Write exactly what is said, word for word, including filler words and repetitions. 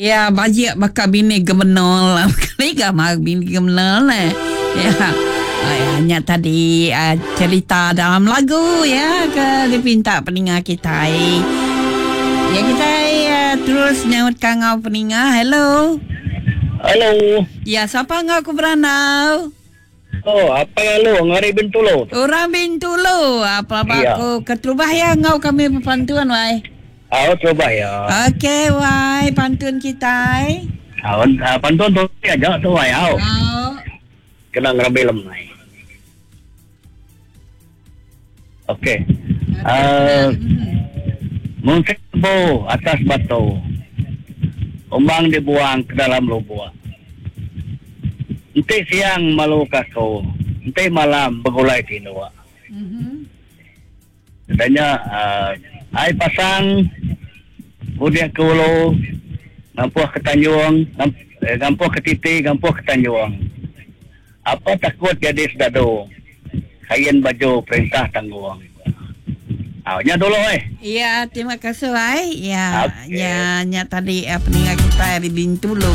Ya, bajik baka bini gemenol. Kali ga mah bini gemenol eh. Ya. Hanya tadi uh, cerita dalam lagu ya ke dipinta peninga kita. Ya kita uh, terus nyaut kangau peninga. Hello. Hello. Ya, siapa ngau aku beranau? Oh, apa yang lu ngari Bintulu? Orang Bintulu. Apa apa Ya. aku keterubah ya ngau kami berpantun wai. Ah, terubah ya. Okey wai, pantun kita. Ah, ah, pantun tu aja tu wai au. Oh. Kena ngerambil lemai. Okey. Ah, mungkin bo atas batu. Umbang dibuang ke dalam lubuk. Enti siang malu kaku, enti malam begulai tinduk. Mhm. Katanya uh, ai pasang udah ke ulu, ngampuh ke Tanjung, ngamp- eh, ngampuh ke Titi, ngampuh ke Tanjung. Apa takut jadi sedadu? Kain baju perintah tanggung. Ah, nya dulu eh. Ya, terima kasih wai. Ya, Okey. ya, nya tadi eh, peninga kita di Bintulu.